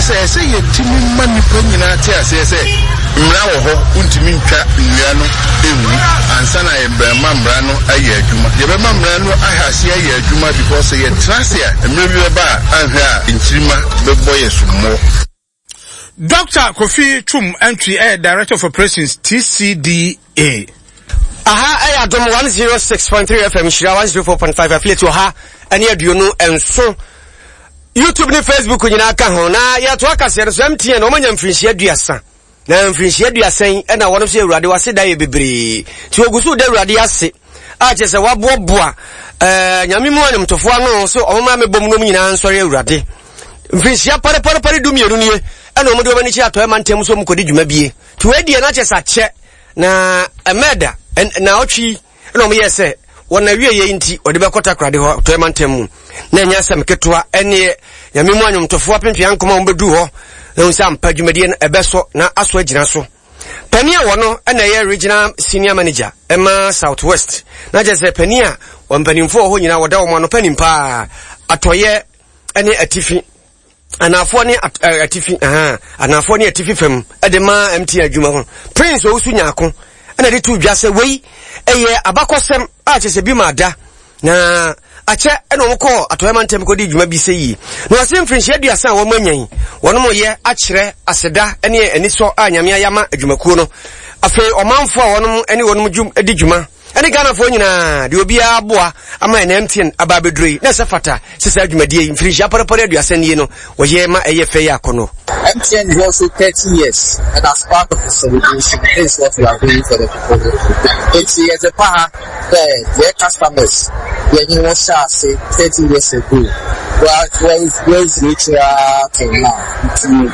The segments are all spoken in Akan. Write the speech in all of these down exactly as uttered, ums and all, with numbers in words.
sɛ ɛsɛ yɛtumi ma nnipa nyinaa te aseɛ sɛ mmara wɔ hɔ, wontumi ntwa nnua no ngu ansa na yɛbɛma mmara no ayɛ adwuma. Yɛbɛma mmara no ahyɛ aseɛ ayɛ adwuma because sɛ yɛtena ase a, mmerɛ bi bɛba a anhwɛ a nkyirima bɛbɔ yɛ so mmɔ. Doctor Kofi Twum Antwi yɛ Director of Operations, T C D A. Aha ɛyɛ Adom one zero six point three F M, Nhyira one zero four point five affiliate wɔ ha ɛne aduonu nson. YouTube ne Facebook nyinaa ka ho na yɛto akaseɛ no so. M T N wɔn anya mfirinhyia aduasa na mfirinhyia aduasa yi ɛna wɔn nso Awurade wase da yɛ bebree, nti wɔgu so da Awurade ase a kyerɛ sɛ waboaboa ɛɛ Nyame mu animtofoɔ ano so wɔn maa mebɔ mu nom nyinaa nsɔre Awurade. Mfirinhyia parepare du mmienu nie ɛna wɔn de wɔn ani kyerɛ Atɔɛ mantam so wɔn kɔdi dwuma bie, nti wɔn adi ɛna kyerɛ sɛ akyɛ na ɛmɛɛda na ɔtwi ɛna wɔn yɛ sɛ wɔn awie yɛ nti wɔde bɛkɔ Takoradi hɔ, Atɔɛ mantam mu, na ɛnyɛ asɛm ketewa. Ɛneɛ Nyame mu anwomtofoɔ apempea nkɔmɔ a wɔn bɛduru hɔ na wɔn sɛ ampa dwumadie no ɛbɛsɔ na aso agyina so. Panin a wɔno ɛna ɛyɛ regional senior manager ɛma South West, na kyerɛ sɛ panin a wɔn mpanimfoɔ wɔ hɔ nyinaa wɔda wɔn ano, panin paa atɔyɛ ɛne atifi anafoɔ ne atifi anafoɔ ne atifi fam ɛde ma M T N adwuma ho, Prince Owusu Nyaako, ɛna de to dwa sɛ wei ɛyɛ abakɔsɛm a kyerɛ sɛ bi ma ada na akyɛ ɛna wɔn kɔɔ Atɔeɛ mantam kɔdi dwuma bi sɛ yie, na wɔse mfirinhyia aduasa a wɔn anya yi, wɔn mo yɛ akyerɛ aseda ne anisɔ a Nyame ayɛ ama adwumakuo no. Afei ɔmanfoɔ a wɔn ne wɔn dwum di dwuma ɛne Ghanafoɔ nyinaa deɛ obiara aboa ama ɛna M T N aba abɛduro yi, na ɛsɛ fata sɛ saa dwumadie yi mfirinhyia parepare aduasa nie no wɔyɛ ma ɛyɛ fɛ yɛ akɔnɔ. M T N is also thirty years, and as part of the celebration, this is what we are doing for the people. It's as a power, the their customers, when you was say thirty years ago, well, well, well, reaching till now.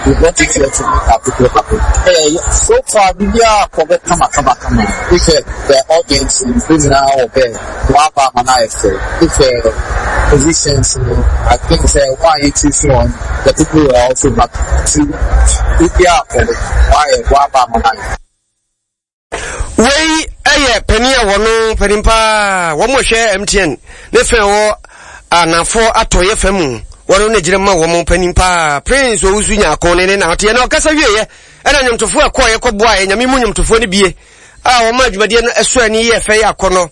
We brought it here to make our people happy. Hey, so far, we are covered. Come on, come on, come on. If the audience is now there, what about my if the positions, I think say why you choose one, the people are also happy. If you are why why about my Wei ɛyɛ panin a wɔno panin paa wɔn hwɛ M T N ne fɛn wɔ anafoɔ atɔyɛ fam mu, wɔn ne gyina ma wɔn panin paa Prince Owusu Nyaako ne ne na ɔteɛ na ɔkasa wieɛ. Ɛna nnwomtofoɔ ɛkɔɔ yɛkɔboa yɛ Nyame mu nnwomtofoɔ no bie a wɔn adwumadeɛ no ɛso ani yɛ fɛ yɛ akɔnɔ.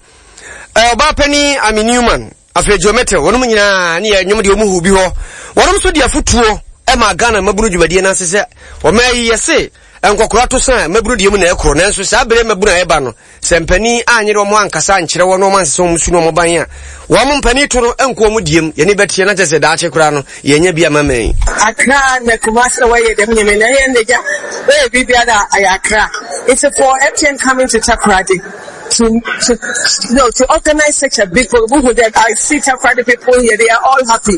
Ɛɛ ɔbaa panin Ami Newman, afei Geometry, wɔn nyinaa ne yɛ nnwom deɛ wɔn hu bi hɔ. Wɔn nso de afotuo ɛma Ghana mmabunu dwumadie no ase sɛ wɔn ayi yɛse nkɔkora to san mmabunu deɛ mu na ɛkorɔ, nanso saa bere mmabunu a ɛba no sɛ mpanin anyere wɔn ankasa ankyerɛ wɔn na wɔn ansesa wɔn su na wɔn ban a wɔn mpanin to no nkɔ wɔn diem yɛne bɛteɛ na kyerɛ sɛ daakye koraa no yɛnya bi ama mɛn. Accra na Kumasi na wɔyɛ dɛm nyame na ɛyɛ ndagya wɔyɛ biribiara ayɛ Accra. It's for M T N coming to Takoradi to to you know to organize such a big program. I see Takoradi people here; they are all happy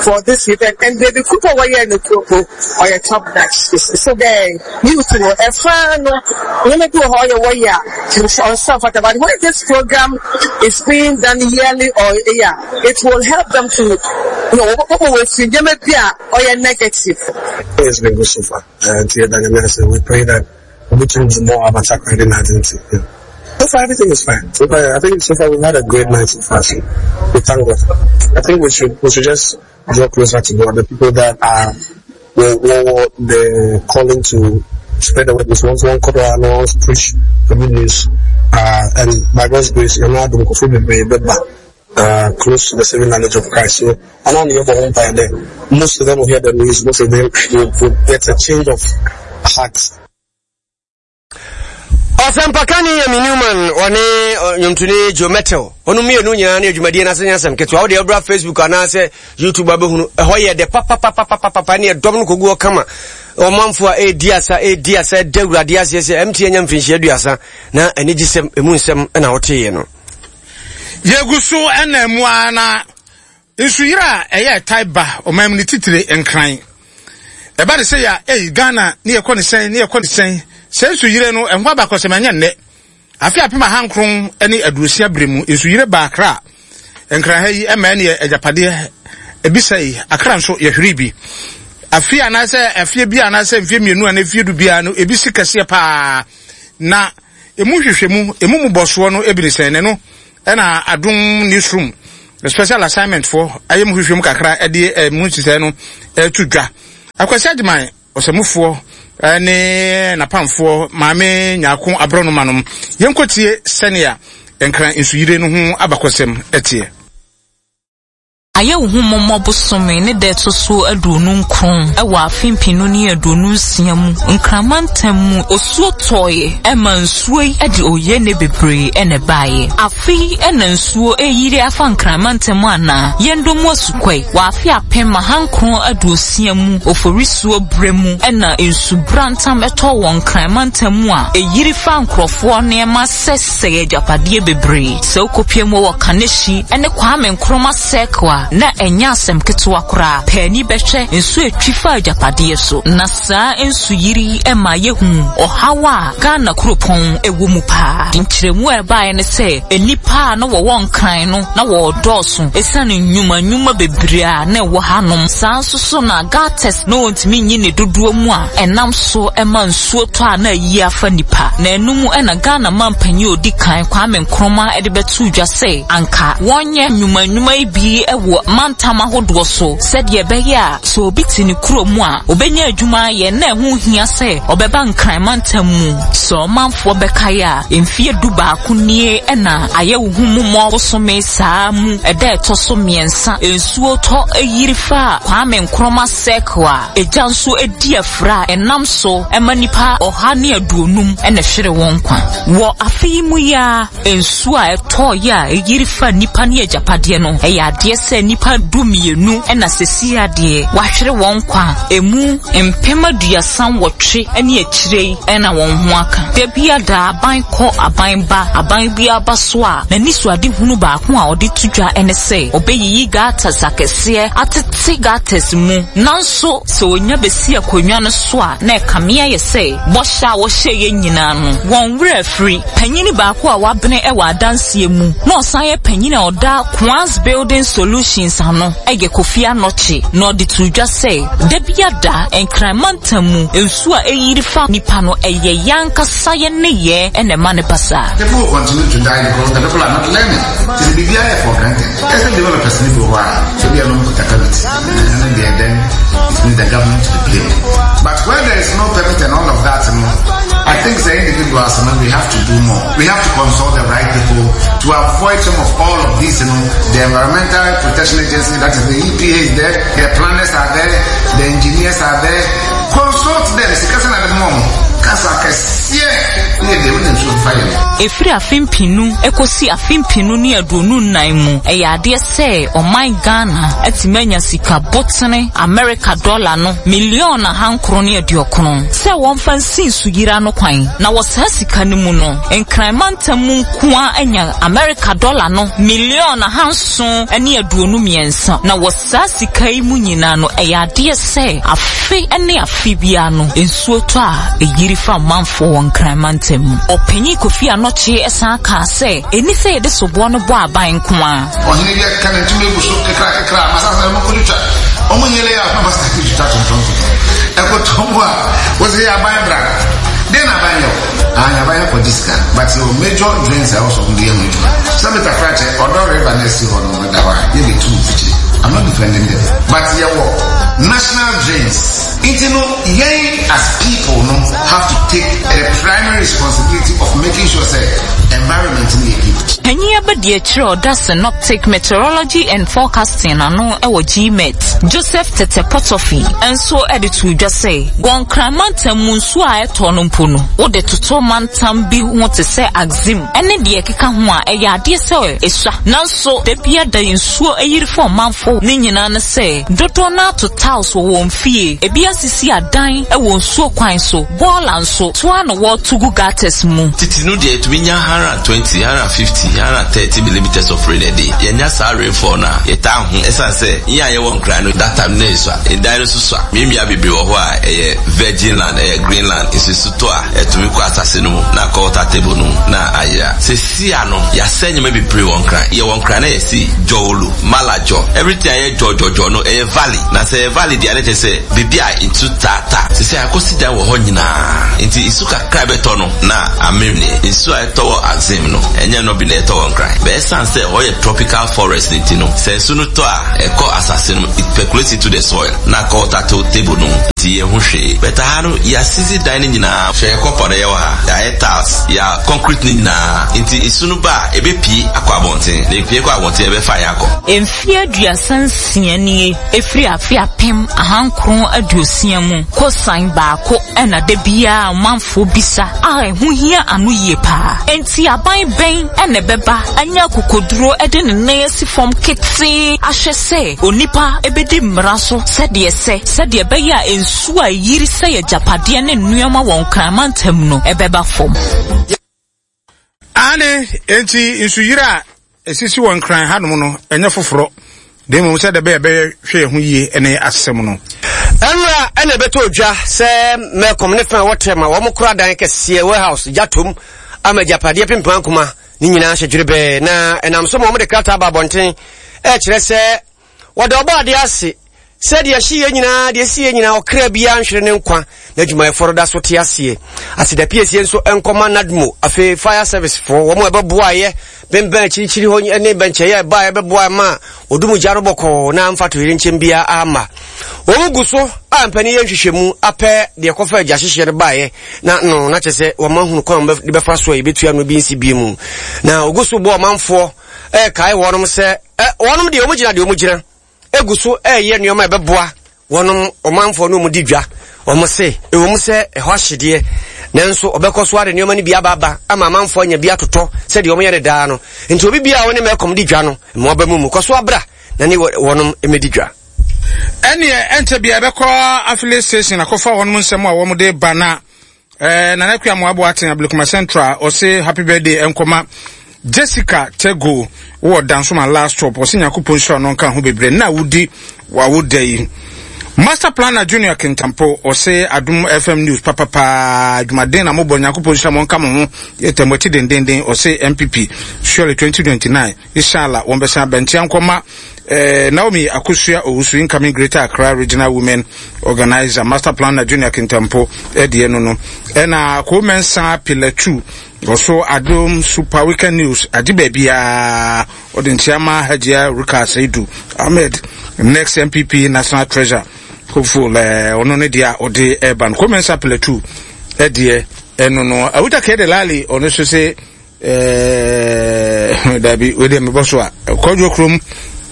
for this event. And Baby Cooper wɔyɛ no kuropo ɔyɛ top notch. So the youth no ɛfa no nneɛma bi wɔ hɔ ɔyɛ wɔyɛ a ɔnsa fata, but when this program is being done yearly or yeah, it will help them to you know wɔbɔ wɔ fi nneɛma bi a ɔyɛ negative. It's been good so far. And we pray that we can do more about Takoradi night. Yeah. So far, everything is fine. So far, I think so far we've had a great night so far. So we thank God. I think we should we should just draw closer to God. The people that are will, will the calling to spread the word is one one quarter and one preach the good news. Uh, and by God's grace, you're not doing uh, close to the saving knowledge of Christ. So, I know you're by there. Most of them will hear the news. Most of them will, will get a change of heart. Ɔsɛmpakani Yami Newman, ɔne nnwomtoni Joe Metal, ɔno mmienu nyinaa ne adwumadie no ase nyɛ asɛm ketewa. Wode wobra Facebook anaasɛ YouTube abɛhunu ɛhɔ yɛ dɛ papapapapapa ne ɛdɔm no kɔgu hɔ kama. Ɔmanfo a ɛredi asa ɛredi asa ɛda Awurade aseɛ sɛ M T N anya mfirinhyia aduasa na anigye sɛm ɛmu nsɛm ɛna woteeɛ no. Yɛgu so ɛna mu ara na nsuyire a ɛyɛ ɛtae ba ɔman mu ne titire Nkran ɛba de sɛ yɛ ɛyi Ghana ne yɛkɔ ne sɛn ne yɛkɔ ne sɛn sɛ nsuyire no ɛho abakɔsɛm ɛnyɛ nnɛ. Afe apem ahankron ne aduosia bere mu nsuyire ba Akra Nkran ha yi ɛma ɛne agyapadeɛ ebisa yi Akra nso yɛhwere bi. Afe anaasɛ afie bi anaasɛ mfie mmienu anaa mfie du biara no ebi si kɛseɛ paa, na emu hwehwɛ mu emu mubɔsoɔ no ebi ne sɛn ne no ɛna Adom Newsroom Special Assignment foɔ ayɛ mu hwehwɛ mu kakra ɛde ɛmu nhyehyɛe no ɛto dwa. Akwasi Agyeman ɔsɛmufoɔ ne n'apamfoɔ Maame Nyarko Aborɔnoma nom. Yɛnkɔtie sɛnea Nkran nsuyire no ho abakɔsɛm teɛ. Ayɛ wo ho mmɔmmɔ bosome ne da ɛto so aduonu nkron wɔ afe mpenu ne aduonu nsia mu Nkran mantam mu osuo tɔeɛ ɛma nsuo yi de oyene bebree na ɛbaeɛ. Afe yi na nsuo reyiri afa Nkran mantam anaa yɛndɔ mu asukwae wɔ afe apem ahankron aduosia mu Oforisuo berɛ mu na nsu brantam tɔɔ wɔ Nkran mantam mu a ɛyiri faa nkorɔfoɔ nneɛma sɛsɛe agyapadeɛ bebree. Sɛ wokɔpue mu wɔ Kaneshie ne Kwame Nkrumah Circle a, na ɛnyɛ asɛm ketewa koraa. Paani bɛhwɛ nsuo a ɛtwi fa agyapadeɛ so. Na saa nsuyiri yi ma yɛhuu ɔhaw a Ghana kuropɔn wɔ mu paa. Nkyerɛmu a ɛbaeɛ ne sɛ, nnipa a na wɔwɔ Nkran no na wɔredɔɔso ɛsiane nnwuma nnwuma bebree a na ɛwɔ hanom. Saa nso so na gutters na wɔntumi nyi ne dodoɔ mu a ɛnam so ma nsuo tɔ a na ayi afa nnipa. Na ɛno mu na Ghana manpanyin a ɔdi kan, Kwame Nkrumah de bɛtoo dwa sɛ anka wɔnyɛ nnwuma nnwuma yi bi wɔ mantam ahodoɔ so sɛdeɛ ɛbɛyɛ a sɛ obi te ne kuro mu a ɔbɛnya adwuma ayɛ na ɛho nhia sɛ ɔbɛba Nkran mantam mu. Sɛ ɔmanfoɔ bɛkae a, mfeɛ du baako nie na Ayɛwohomumɔ bosome saa mu ɛda ɛtɔ so mmiɛnsa nsuo tɔ yiri faa Kwame Nkrumah Circle a egya nso di afira a ɛnam so ma nnipa ɔha ne aduonum na ɛhwere wɔn nkwa. Wɔ afe yi mu yi ara, nsuo a ɛtɔeɛ a ɛyiri faa nnipa ne agyapadeɛ no, ɛyɛ adeɛ sɛ nnipa du mmienu na seesei adeɛ wɔahwere wɔn nkwa a ɛmu mpem aduasa nwɔtwe ne akyire yi na wɔn ho aka. Da biara da aban kɔ aban ba, aban biara ba so a, n'anisoadehunu baako a ɔde to dwa ne sɛ ɔbɛyiyi gutters akɛseɛ atete gutters mu. Nanso sɛ ɔnya bɛsi akonnwa no so a, na ɛkame ayɛ sɛ bɔhyɛ a wɔhyɛeɛ nyinaa no, wɔn werɛ afiri. Panyin baako a wabene wɔ adanseɛ mu na ɔsan yɛ panyin a ɔda Kwans Building Solutions ano yɛ Kofi Anokye na ɔde too dwa sɛ, Da biara da, Nkran mantam mu nsuo a ɛyiri fa nnipa no, ɛyɛ yɛn ankasa yɛn nneyɛɛ na ɛma no ba saa. People will continue to die because the people are not learning. Nti sɛ biribiara yɛ for granted. Ɛsɛ developers no bi wɔ hɔ a, ebi a na wɔkuta permit. Ɛno deɛ then it means the government to be blamed. But where there is no permit and all of that no, I think sɛ individuals no we have to do more. We have to consult the right people to avoid some of all of these, you know, the Environmental Protection Agency, that is the E P A is there, the planners are there, the engineers are there. Consult them. Sika sɛ na de mɔ mo. Kasa kɛseɛ ne yɛ deɛ wonim so mfa yɛ no. Ɛfiri afe mpenu kɔsi afe mpenu ne aduonu nnan mu, ɛyɛ adeɛ sɛ ɔman Ghana atumi anya sika botene Amerika dɔla no miliɔn ahankron ne aduokron sɛ wɔmfa nsi nsuyiri ano kwan. Na wɔ saa sika no mu no, Nkran mantam mu nko ara anya Amerika dɔla no miliɔn ahanson ne aduonu mmiɛnsa. Na wɔ saa sika yi mu nyinaa no, ɛyɛ adeɛ sɛ afe ne afe biara no, nsuo tɔ a, ɛyiri fa ɔmanfoɔ wɔ Nkran mantam mu. Ɔpanyin Kofi Anokye san kaa sɛ, ɛnni sɛ yɛde soboɔ no bɔ aban nko ara. Ɔhene bi akeka ne ntoma agu so kekrakekra ama asase no kɔtwitwa. Wɔn nyɛ lɛ a na wɔasa twitwa tontɔntontɔn. Ɛkɔtɔ mu a, wɔsɛ yɛ aban bra. Deɛ na aban yɛ o? Ah, yɛ aban akɔgye sika. But yɛwɔ major drains a ɛwɔ sɛ wɔde yɛ ho adwuma. Sɛ mita krakyɛ, ɔdɔ river na ɛsi hɔ no, ɛda hɔ a, yɛbɛtu mfikyire. I'm not defending them. But yɛwɔ national drains. Nti no, yɛn as people no have to take the primary responsibility of making sure sɛ environment no yɛ good. Panyin abadiakyiri a ɔda Synoptic Meteorology and Forecasting ano wɔ G M E T, Joseph Tete Potofi nso de too dwa sɛ, wɔ Nkran mantam mu nsuo a ɛtɔ no mpo no, wode toto mantam bi ho te sɛ Axim ne deɛ ɛkeka ho a, ɛyɛ adeɛ sɛ ɛsua. Nanso, da biara da nsuo ayiri fa ɔmanfoɔ ne nyinaa ne sɛ, dodoɔ no ara to tiles wɔ wɔn fie, ebi asisi adan wɔ nsuo kwan so, bɔɔla nso, to ara na wɔreto gu gutters mu. Tete no deɛ yɛtumi nya hundred and twenty, hundred and fifty, hundred and thirty millimeters of rain a day. Yɛnya saa rainfall no a, yɛtaa ho. Ɛsiane sɛ yɛn a yɛwɔ Nkran no, that time no na yɛsua. Ɛdan no nso sua. Mmeammea bebree wɔ hɔ a ɛyɛ virgin land, ɛyɛ green land. Nsusu tɔ a, ɛtumi kɔ asase no mu na akɔ water table no mu na ayera. Seesei no, yɛasɛe nneɛma bebree wɔ Nkran. Yɛwɔ Nkran na yɛsi Jɔwolo, Malajɔ. Everything a ɛyɛ jɔjɔjɔ no, ɛyɛ valley. Na sɛ ɛyɛ valley deɛ a, na kyerɛ sɛ baabi a nsu taataa. Seesei akɔsi dan wɔ hɔ nyinaa. nyinaa. Nti nsu kakra bɛtɔ no na amene. Nsu a ɛtɔ wɔ Axim no, ɛnyɛ no bi na ɛtɔ wɔ Nkran. Bɛyɛ san sɛ ɔyɛ tropical forest ne ti no, sɛ nsu no tɔ a ɛkɔ asase no, it percolates into the soil na akɔ water table no mu. Nti yɛn ho hwee. Bɛta ha no, yɛasisi dan no nyinaa. Hwɛ yɛ compound ɛyɛ wɔ ha. Yɛayɛ tiles, yɛ concrete no nyinaa. Nti nsu no ba a, ɛbɛpie akɔ abɔnten. Na epie kɔ abɔnten, ɛbɛfa yɛn akɔ. Mfeɛ aduasa nsia nie efiri afe apem ahankron aduosia mu kosan baako ɛna da biara ɔmanfoɔ bisa a ɛho hia ano yie paa. Enti aban bɛn ɛna ɛbɛba anya akokoduro ɛde ne nan asi fam ketee ahwɛ sɛ onipa ebedi mmara so sɛdeɛ sɛ sɛdeɛ ɛbɛyɛ a nsuo a ɛyiri sɛ yɛ agyapadeɛ ne nneɛma wɔ Nkraman ntam no ɛbɛba fam. Ane, enti nsuyiri a esisi wɔ Nkran hanom no ɛnyɛ foforɔ. De mmom sɛ dɛbɛ ɛbɛyɛ hwɛ ho yie ne asɛm no. Ɛnura ɛna ɛbɛtɔ odwa sɛ Melcom ne fɛn a wɔtɛ ma wɔn kora dan kɛseɛ warehouse gyatom ama agyapadeɛ pimpam akoma ne nyinaa hyɛ dwerɛbɛɛ na ɛnam so ma wɔn de krataa ba abɔnten ɛkyerɛ sɛ wɔde ɔbɔ adeɛ ase sɛ deɛ ɛhye yɛ nyinaa deɛ ɛsi yɛ nyinaa ɔkra biara nhwere ne nkwa na adwumayɛfoɔ no da so te aseɛ. Aseda piesie nso nkɔma NADMO afei fire service foɔ wɔn a ɛbɛboa yɛ bɛnbɛn akyirikyiri hɔ ne bɛnkyɛeɛ a ɛbaa ɛbɛboa ma odum gya no bɔkɔɔ na amfa toyere nkyɛn biara ama. Wɔn gu so a mpanin yɛ nhwehwɛmu apɛ deɛ kɔfa agya hyehyɛ no baeɛ na no na kyerɛ sɛ wɔn ahunu kwan de bɛfa so a yɛbɛtua no bi nsi bie mu. Na ogu so bɔ ɔmanfoɔ ɛɛkae wɔnom sɛ ɛ wɔnom deɛ wɔn gyina deɛ wɔn gyina egu so ɛɛyɛ nneɛma a ɛbɛboa wɔnom ɔmanfoɔ no wɔn di dwa. Wɔn se ɛwɔ mu sɛ ɛhɔ ahyedeɛ nanso ɔbɛkɔ so ade nneɛma no bi aba aba ama amanfoɔ anya bi atotɔ sɛdeɛ wɔn yɛ ne daa no. Nti obi bia a wɔne Melcom di dwa no mmoa ba mu mu kɔ so abra na ne wɔnom mmɛdi dwa. Ɛneɛ ɛnkyɛ bia ɛbɛkɔ affiliate station akɔfa wɔnom nsɛm a wɔn de ba na ɛɛ Nana Akua Amoabo Aten Ablekuma Central ɔse happy birthday ɛnkɔma Jessica Tego wɔ Dansoma last stop ɔse Nyankopɔn nhyira no nka ho bebree na wodi wawoda yi. Master Planner Junior Kintampo ɔse Adom F M News papapa adwumaden na mobɔ Nyankopɔn nhyira mo nka mo ho yɛtɛm akyi dendenden ɔse M P P surely twenty twenty-nine inshallah wɔn bɛsan abɛntia nkɔma eh, Naomi Akosua Owusu incoming Greater Accra Regional Women Organizer Master Planner Junior Kintampo ɛdeɛ no no ɛna Komensa Pillar two ɔso Adom Super Weekend News agye baabiara ɔde nkyia ma Hajia Ruka Seidu Ahmed next M P P National Treasure hopeful ɔno ne deɛ ɔde ɛba no Komensa Pillar two ɛdeɛ ɛno no Awuta Kede Lali ɔno nso se ɛɛ dabi wei deɛ mebɔ so a Kɔdwo kurom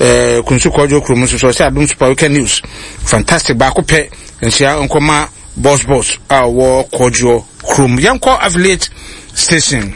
ɛɛ Kunsu Kɔdwo kurom nso so ɔsɛ Adom Super Weekend News fantastic baako pɛ nhyia nkɔma boss boss a ɔwɔ Kɔdwo kurom. Yɛnkɔ affiliate station.